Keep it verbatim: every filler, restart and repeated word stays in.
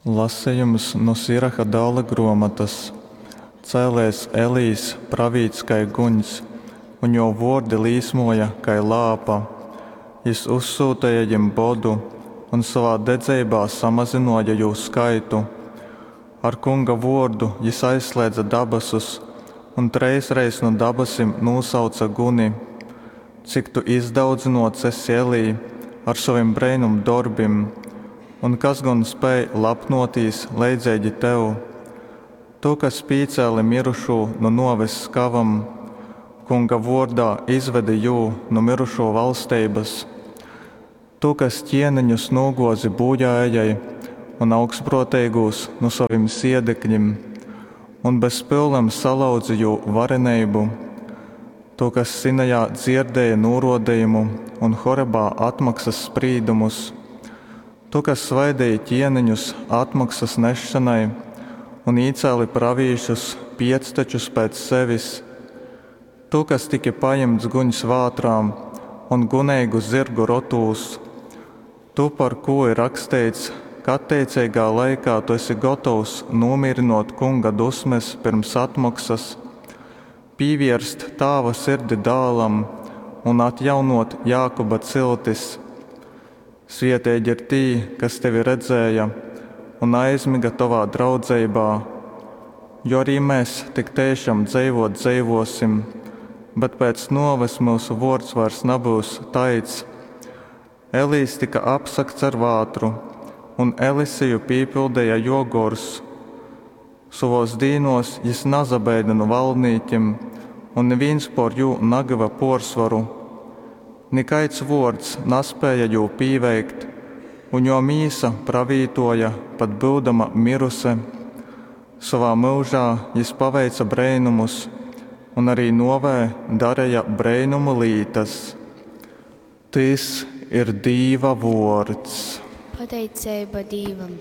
Lasejums nu Siraha dāla grōmotas. Cēlēs Elijs pravīts kai guņs, un jō vōrdi līsmōja kai lāpa. Jys uzsyuteja jim bodu un sovā dedzeibā samazynōja jūs skaitu. Ar Kunga vōrdu jys aizslēdze dabasus un trejsreiz nu dabasim nūsauce guni. Cik tu izdaudzynōts esi, Elij, ar sovim breinumdorbim, un kas gon spēj lapnōtīs leidzeigi tev? Tu, kas pīcēli myrušū nu nōves skāvam, Kunga vōrdā izvedi jū nu myrušū valsteibas. Tu, kas ķieneņus nūgōzi būjāejai un augstprōteigūs nu sovim siedekļim, un bez pyulem salauzi jū vareneibu. Tu, kas Sinajā dzierdēji nūrōdejumu un Horebā atmoksas sprīdumus. Tu, kas svaideji ķieneņus atmoksas nesšonai un īcēli pravīšus piectečus pēc sevis. Tu, kas tyki pajimts guņs vātrā un guneigu zyrgu rotūs. Tu, par kū ir raksteits, ka atteiceigā laikā tu esi gotovs nūmīrynōt Kunga dusmes pyrms atmoksas, pīvērst tāva sirdi dālam un atjaunōt Jākuba ciltis. Svietīgi ir tī, kas tevi redzēja un aizmyga tovā draudzeibā. Jo arī mes tik teišam dzeivōt dzeivōsim, bet pēc nōves myusu vōrds vairs nabyus taids. Elijs tyka apsagts ar vātru, un Eliseju pīpildeja jō gors. Sovōs dīnōs jys nasabeida nu valdnīkim, un nivīns pōr jū nagyva pōrsvoru. Nikaids vōrds naspēja jū pīveikt, un jō mīsa pravītōja, pat byudama miruse. Sovā myužā jys paveice breinumus un arī nōvē dareja breinumu lītas. Tys ir Dīva vōrds. Pateiceiba Dīvam.